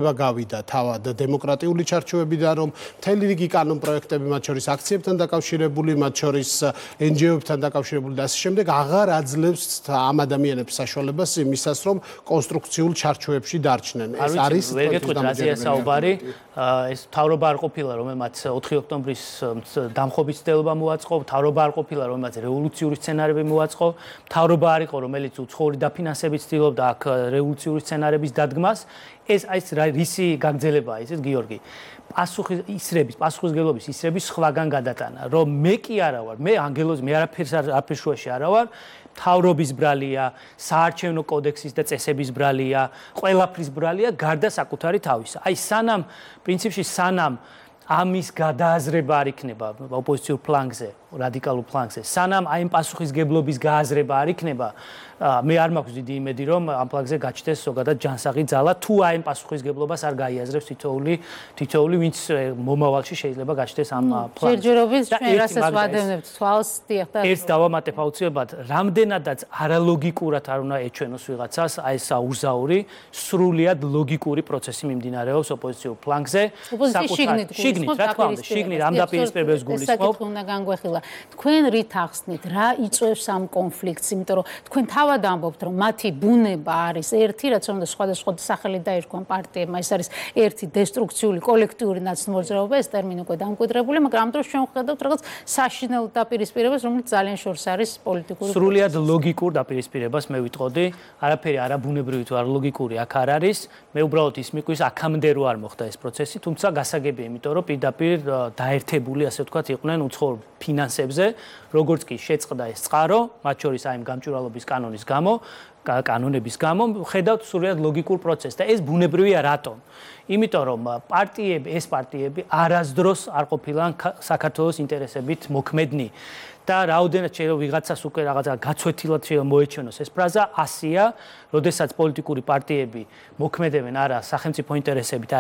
გავიდა თავად დემოკრატიული ჩარჩოებიდან, რომ მთელი რიგი კანონ პროექტები, მათ შორის აქციებთან დაკავშირებული, მათ შორის NGO-ებთან დაკავშირებული და ასე შემდეგ, აღარ აძლევს ამ ადამიანებს საშუალებას იმისას, რომ კონსტრუქციულ ჩარჩოებში დარჩნენ. ეს არის ვერ გეტყვით რაზეა საუბარი, ეს მთავრობა არ ყოფილა, რომელმაც 4 ოქტომბრის დამხობის ცდელობა მოაწყო, მთავრობა არ ყოფილა, რომელმაც რევოლუციური სცენარები მოაწყო, მთავრობა არ იყო, რომელიც უცხოური დაფინანსებით ცდილობდა აქ რევოლუციური სცენარების დადგმას. ეს რისი გაგრძელებაა ისეთ გიორგი პასუხისმგებლობის ისრების სხვაგან გადატანა რომ მე კი არა ვარ მე ანგელოზი მე არაფერს შუაში არა ვარ მთავრობის ბრალია საარჩევნო კოდექსის და წესების ბრალია ყველაფრის ბრალია გარდა საკუთარი თავისა აი სანამ პრინციპში სანამ ამის გადააზრება არ იქნება ოპოზიციურ ფლანგზე რადიკალურ ფლანგზე სანამ აი ამ პასუხისმგებლობის გააზრება არ იქნება მე არ მაქვს დიდი იმედი რომ ამ ფლანგზე გაჩნდეს ზოგადად ჯანსაღი ძალა თუ აი ამ პასუხისმგებლობას არ გაიაზრებს თითოეული ვინც მომავალში შეიძლება გაჩნდეს ამ ფლანგზე ჯერჯერობით ჩვენ რასაც ვადევნებთ თვალს დიახ და ერთ დავამატებ აუცილებლად რამდენადაც არალოგიკურად არ უნდა ეჩვენოს ვიღაცას აი ეს აურზაური სრულიად ლოგიკური პროცესი მიმდინარეობს ოპოზიციურ ფლანგზე შიგნით რა თქმა უნდა შიგნით ამ დაპირისპირებებს გულისხმობ უნდა განგვეხილა თქვენ რით ახსნით რა იწვევს ამ კონფლიქტს იმიტომ რომ თქვენ თავად ამბობთ რომ მათი ბუნება არის ერთი რაც უნდა სხვადასხვა სახელი დაერქვან პარტიებმა ეს არის ერთი დესტრუქციული კოლექტიური ნაცნობრაობა ეს ტერმინი უკვე დამკვიდრებული მაგრამ ამ დროს ჩვენ ვხედავთ რაღაც საშინელ დაპირისპირებას რომელიც ძალიან შორს არის პოლიტიკური სრულიად ლოგიკურ დაპირისპირებას მე ვიტყოდი არაფერი არაბუნებრივი თუ არ ლოგიკური აქ არ არის მე უბრალოდ ის მიყვის აქამდე რო არ მოხდა ეს პროცესი თუმცა გასაგებია იმიტომ რომ პირდაპირ დაერთებული ასე ვთქვათ იყვნენ უცხოურ ფინანსებზე როგორც კი შეწყდა ეს წყარო მათ შორის აი გამჭვირვალობის კანონების გამო ხედავთ სრულიად ლოგიკურ პროცესს და ეს ბუნებრივია რატომ? იმიტომ რომ ეს პარტიები არასდროს არ ყოფილან საქართველოს ინტერესებით მოქმედნი და რაოდენად შეიძლება ვიღაცას უკვე რაღაცა გაცვეთილად შეიძლება მოეჩვენოს ეს ფრაზა 100-ია, როდესაც პოლიტიკური პარტიები მოქმედებენ არა სახელმწიფო ინტერესებით,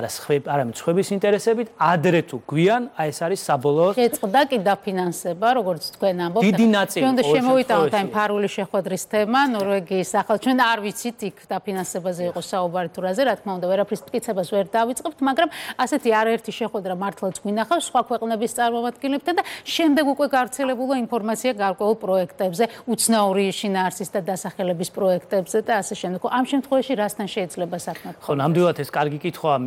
არამედ სხვების ინტერესებით, ადრე თუ გვიან, აი ეს არის საბოლოო შეწყდა კი დაფინანსება, როგორც თქვენ ამბობთ. დიდი ნაწილი ჩვენ შემოვიტანოთ აი ფარული შეხვედრის თემა, ნორვეგიის ახალ ჩვენ არ ვიცით იქ დაფინანსებაზე იყო საუბარი თუ რაზე, რა თქმა უნდა, ვერაფრის მტკიცებას ვერ დავიწყებთ, მაგრამ ასეთი არაერთი შეხვედრა მართლაც გვინახავს სხვა ქვეყნების წარმომადგენლებთან და შემდეგ უკვე გავრცელებულა ინფორმაცია გარკვეულ პროექტებზე, უცნაური შინაარსის და დასახელების პროექტებზე და ასე შემდეგ. ამ შემთხვევაში რასთან შეიძლება საქმე? ხო, ნამდვილად ეს კარგი კითხვაა,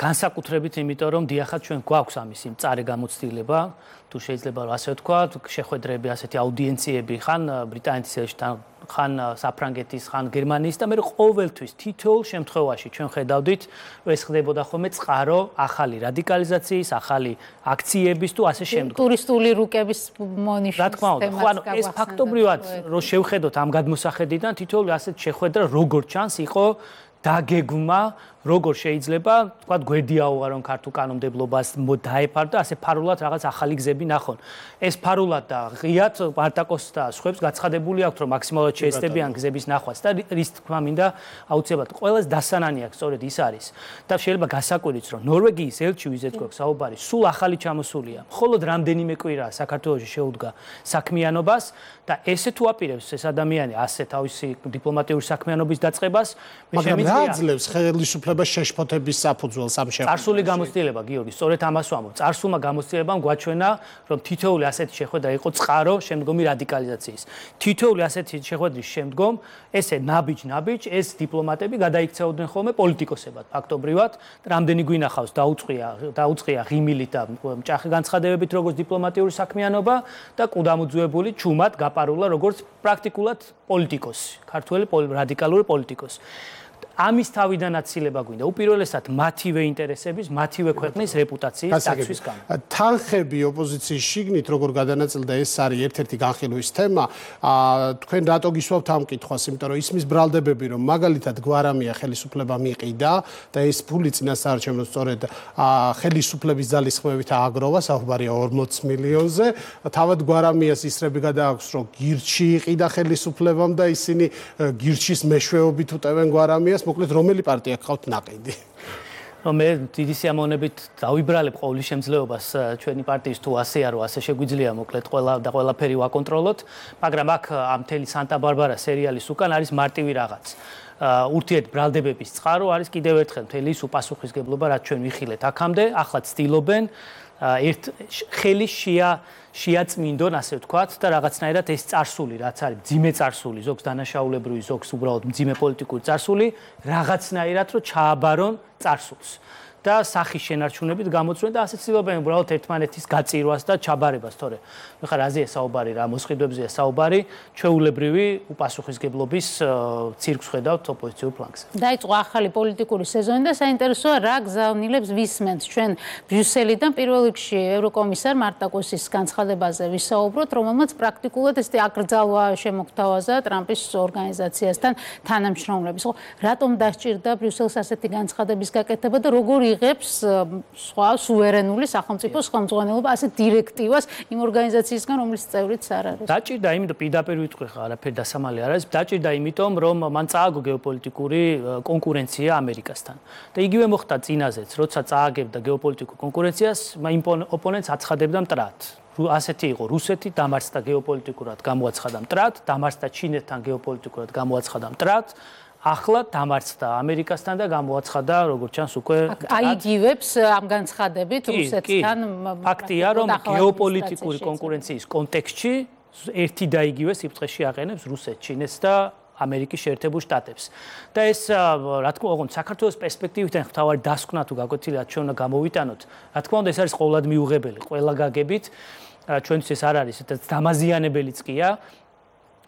განსაკუთრებით იმიტომ რომ დიახაც ჩვენ გვაქვს ამის იმ წარე გამოცდილება, თუ შეიძლება ასე ვთქვა, შეხვედრები, ასეთი აუდიენციები ხან ბრიტანეთის ელჩთან, ხან საფრანგეთის, ხან გერმანიის და მე ყოველთვის თითოეულ შემთხვევაში ჩვენ ხედავდით, ეს ხდებოდა ხოლმე წყარო ახალი რადიკალიზაციის, ახალი აქციების თუ ასე შემდეგ. ტურისტული რუკების მონიშნის რა თქმა უნდა, ხო, ანუ ეს ფაქტობრივად რო შევხედოთ ამ გადმოსახედიდან თითოეული ასეთ შეხვედრა როგორც ჩანს იყო დაგეგმა როგორ შეიძლება თქვა გვერდიაუღარონ ქართულ კანონმდებლობას დაეფარდა ასე ფარულად რაღაც ახალი გზები ნახონ ეს ფარულად და ღიად პარტაკოს და სხვებს გაცხადებული აქვს რომ მაქსიმალურად შეესწებიან გზების ნახვას და რის თქმა მინდა აუცილებლად ყველას დასანანი აქვს სწორედ ის არის და შეიძლება გასაკვირიც რომ ნორვეგიის ელჩი ვიზეთ გვაქვს საუბარი სულ ახალი ჩამოსულია მხოლოდ რამდენიმე კვირაა საქართველოში შეუდგა საქმიანობას და ესე თუ აპირებს ეს ადამიანი ასე თავისი დიპლომატიური საქმიანობის დაწყებას მე შემიძლია აძლევს ხელისუფლებას შეშფოთების საფუძველს ამ შეხვედრაში. წარსული გამოცდილება გიორგი, სწორედ ამას ვამბობ. წარსულმა გამოცდილებამ გვაჩვენა, რომ თითოეული ასეთი შეხვედრა იყო წყარო შემდგომი რადიკალიზაციის. თითოეული ასეთი შეხვედრის შემდგომ ესე ნაბიჯ, ეს დიპლომატები გადაიქცეოდნენ ხოლმე პოლიტიკოსებად, ფაქტობრივად, რამდენი გვინახავს დაუწყია ღიმილით და მჭახი განცხადებებით როგორც დიპლომატიური საქმიანობა და კუდამუძუებული ჩუმად გაპარულა როგორც პრაქტიკულად პოლიტიკოსი, ქართველი რადიკალური პოლიტიკოსი. ამის თავიდან აცილება გვინდა უპირველესად მათივე ინტერესების, მათივე ქვეყნის რეპუტაციის დაცვის გამო. თანხები ოპოზიციის შიგნით როგორ გადანაწილდა ეს არის ერთ-ერთი განხილვის თემა. თქვენ რატო გისვავთ ამ კითხვას, იმიტომ რომ ისმის ბრალდებები რომ მაგალითად გვარამია ხელისუფლება მიყიდა და ეს ფული წინასაარჩევნო სწორედ ხელისუფლების ძალისხმევით ააგროვა, საუბარია 40 მილიონზე. თავად გვარამიას ისრები გადააქვს რომ გირჩი იყიდა ხელისუფლებამ და ისინი გირჩის მეშვეობით უტევენ გვარამიას მოკლედ რომელი პარტია გყავთ ნაყიდი? მე დიდი სიამოვნებით დავიბრალებ ყოვლის შემძლეობას ჩვენი პარტიის თუ ასეა რომ ასე შეგვიძლია მოკლედ ყველაფერი ვაკონტროლოთ, მაგრამ აქ ამ მთელი სანტა-ბარბარა სერიალის უკან არის მარტივი რაღაც. ურთიერთბრალდებების წყარო არის კიდევ ერთხელ მთელი ის უპასუხისგებლობა, რაც ჩვენ ვიხილეთ აქამდე, ახლა ცდილობენ ერთ ხელი შეაწმინდონ, ასე ვთქვათ, და რაღაცნაირად ეს წარსული, რაც არის მძიმე წარსული, ზოგს დანაშაულებრივი, ზოგს უბრალოდ მძიმე პოლიტიკური წარსული, რაღაცნაირად რომ ჩააბარონ წარსულს. და სახის შენარჩუნებით გამოწვენ და ასე ცდილობენ უბრალოდ ერთმანეთის გაწირვას და ჩაბარებას, თორე ხა რაზეა საუბარი, რა მოსყიდვებზეა საუბარი, ჩვეულებრივი უპასუხისგებლობის ცირკს ხედავთ ოპოზიციურ ფლანგზე. დაიწყო ახალი პოლიტიკური სეზონი და საინტერესოა რა გზავნილებს ვისმენთ ჩვენ ბრიუსელიდან პირველ რიგში ევროკომისარ მარტაკოსის განცხადებაზე ვისაუბროთ, რომელმაც პრაქტიკულად ესეთი აკრძალვა შემოგთავაზა ტრამპის ორგანიზაციასთან თანამშრომლების. ხო, რატომ დასჭირდა ბრიუსელს ასეთი განცხადების გაკეთება და როგორ იღებს სხვა სუვერენული სახელმწიფოს ხელმძღვანელობა ასეთ დირექტივას იმ ორგანიზაციისგან, რომლის წევრიც არ არის? დაჭირდა იმიტომ, პირდაპირ ვიტყვი ხა, არაფერი დასამალი არ არის. დაჭირდა იმიტომ, რომ მან წააგო გეოპოლიტიკური კონკურენცია ამერიკასთან. და იგივე მოხდა წინაზეც, როცა წააგებდა გეოპოლიტიკურ კონკურენციას, იმ ოპონენტს აცხადებდა მტრად. ასეთი იყო რუსეთი, დამარცხდა გეოპოლიტიკურად, გამოაცხადა მტრად, დამარცხდა ჩინეთთან გეოპოლიტიკურად, გამოაცხადა მტრად. ახლა დამარცხდა ამერიკასთან და გამოაცხადა, როგორც ჩანს, უკვე აიგივებს ამ განცხადებით რუსეთთან. ფაქტია, რომ გეოპოლიტიკური კონკურენციის კონტექსტში ერთი და იგივე სიბრტყეში აყენებს რუსეთს, ჩინეთს და ამერიკის შეერთებულ შტატებს. და ეს, რა თქმა უნდა, საქართველოს პერსპექტივიდან მთავარი დასკვნა თუ გაკვეთილად ჩვენ უნდა გამოვიტანოთ. რა თქმა უნდა, ეს არის ყოველად მიუღებელი, ყველა გაგებით. ჩვენთვის ეს არ არის, დამაზიანებელიც ყია.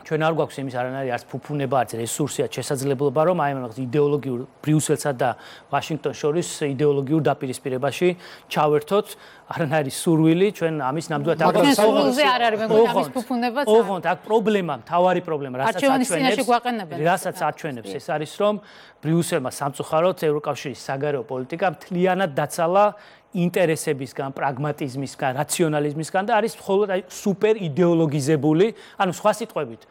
ჩვენ არ გვაქვს იმის არანაირი არც ფუფუნება, არც რესურსია, შესაძლებლობა, რომ აი ამ იდეოლოგიურ ბრიუსელსა და ვაშინგტონს შორის იდეოლოგიურ დაპირისპირებაში ჩავერთოთ, არანაირი სურვილი, ჩვენ ამის ნამდვილად არ აქვს. სურვილზე არ არის, მეგონა, ამის ფუფუნებაც. ოღონდ აქ პრობლემა, მთავარი პრობლემა, რასაც აჩვენებს, ეს არის, რომ ბრიუსელმა სამწუხაროდ ევროკავშირის საგარეო პოლიტიკა მთლიანად დაცალა ინტერესებისგან, პრაგმატიზმისგან, რაციონალიზმისგან და არის მხოლოდ სუპერ იდეოლოგიზებული, ანუ სხვა სიტყვებით,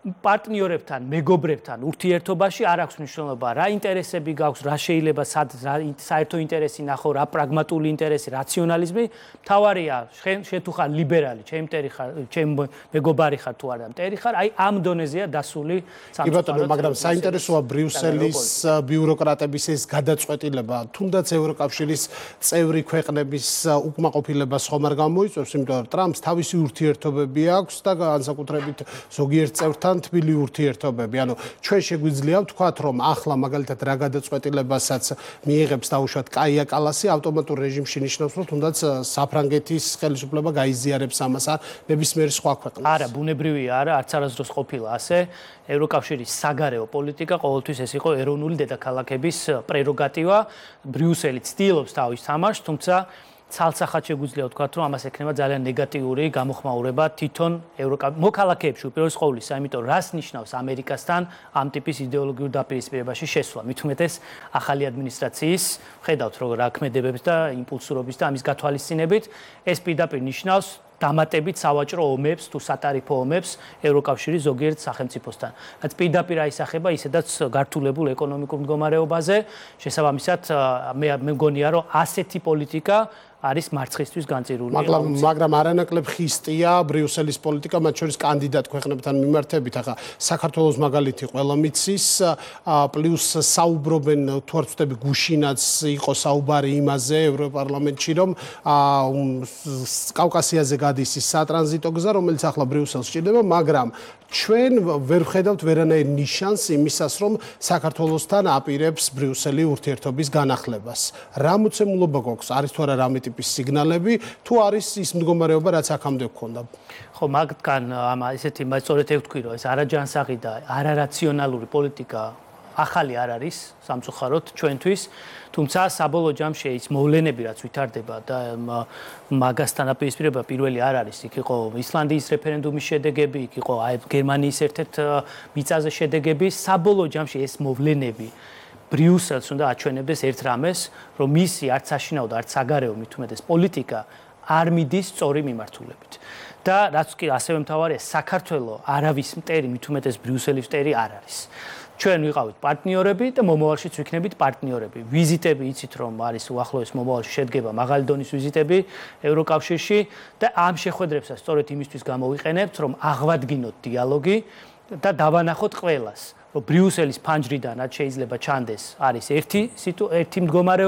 პარტნიორებთან, მეგობრებთან ურთიერთობაში არ აქვს მნიშვნელობა, რა ინტერესები გაქვს, რა შეიძლება საერთო ინტერესი ნახო, რა პრაგმატული ინტერესი, რაციონალიზმი, მთავარია, შენ თუ ხარ ლიბერალი, ჩემ მეგობარი ხარ თუ არა მტერი ხარ, აი ამ დონეზეა დასული სამწუხაროდ. კი ბატონო, მაგრამ საინტერესოა ბრიუსელის ბიუროკრატების ეს გადაწყვეტილება, თუნდაც ევროკავშირის წევრი ქვეყნების უკმაყოფილებას ხომ არ გამოიწვევს, იმიტომ რომ ტრამპს თავისი ურთიერთობები აქვს და განსაკუთრებით ზოგიერთ წევრთან თბილი ურთიერთობები. ანუ ჩვენ შეგვიძლია ვთქვათ, რომ ახლა მაგალითად რა გადაწყვეტილებასაც მიიღებს დაუშვათ კაია კალასი, ავტომატურ რეჟიმში ნიშნავს, რომ თუნდაც საფრანგეთის ხელისუფლება გაიზიარებს ამას ან ნებისმიერი სხვა ქვეყნა. არა, ბუნებრივია, არა, არც არასდროს ყოფილა ასე. ევროკავშირის საგარეო პოლიტიკა ყოველთვის ეს იყო ეროვნული დედაქალაქების პრეროგატივა. ბრიუსელი ცდილობს თავის თამაშს, თუმცა ცალსახად შეგვიძლია ვთქვათ, რომ ამას ექნება ძალიან ნეგატიური გამოხმაურება თვითონ მოქალაქეებში უპირველეს ყოვლისა, იმიტომ რას ნიშნავს ამერიკასთან ამ ტიპის იდეოლოგიურ დაპირისპირებაში შესვლა. მით უმეტეს ახალი ადმინისტრაციის, ხედავთ რომ რა ქმედებებს და იმპულსურობის და ამის გათვალისწინებით, ეს პირდაპირ ნიშნავს დამატებით სავაჭრო ომებს თუ სატარიფო ომებს ევროკავშირის ზოგიერთ სახელმწიფოსთან. რაც პირდაპირ აისახება ისედაც გართულებულ ეკონომიკურ მდგომარეობაზე, შესაბამისად მე მგონია რომ ასეთი პოლიტიკა არის მარცხისთვის განწირული. მაგრამ არანაკლებ ხისტია ბრიუსელის პოლიტიკა, მათ შორის კანდიდატ ქვეყნებთან მიმართებით. ახლა საქართველოს მაგალითი ყველა მიცის, პლუს საუბრობენ თუ არ ვწდები გუშინაც იყო საუბარი იმაზე ევროპარლამენტში, რომ კავკასიაზე გადის ის სატრანზიტო გზა, რომელიც ახლა ბრიუსელს სჭირდება, მაგრამ ჩვენ ვერ ვხედავთ ვერანაირ ნიშანს იმისას, რომ საქართველოსთან აპირებს ბრიუსელი ურთიერთობის განახლებას. რა მოცემულობა გვაქვს? არის თუ არა რამე ტიპის სიგნალები, თუ არის ის მდგომარეობა, რაც აქამდე გქონდა? ხო, მაგთან ესეთი სწორედ ევთქვი, რომ ეს არაჯანსაღი და არარაციონალური პოლიტიკა ახალი არ არის სამწუხაროდ ჩვენთვის, თუმცა საბოლოო ჯამში ის მოვლენები რაც ვითარდება და მაგასთან აპირისპირება პირველი არ არის, იქ იყო ისლანდიის რეფერენდუმის შედეგები, იქ იყო გერმანიის ერთ-ერთ მიწაზე შედეგები, საბოლოო ჯამში ეს მოვლენები ბრიუსელს უნდა აჩვენებდეს ერთ რამეს, რომ მისი არც საშინაო და არც საგარეო მით უმეტეს პოლიტიკა არ მიდის სწორი მიმართულებით. და რაც კი ასევე მთავარია, საქართველოს არავის მტერი მით უმეტეს ბრიუსელის მტერი არ არის. ჩვენ ვიყავით პარტნიორები და მომავალშიც ვიქნებით პარტნიორები. ვიზიტები იცით რომ არის უახლოეს მომავალში შედგება მაღალი დონის ვიზიტები ევროკავშირში და ამ შეხვედრებსაც სწორედ იმისთვის გამოვიყენებთ, რომ აღვადგინოთ დიალოგი და დავანახოთ ყველას, რომ ბრიუსელის ფანჯრიდანაც შეიძლება ჩანდეს არის ერთი მდგომარეობა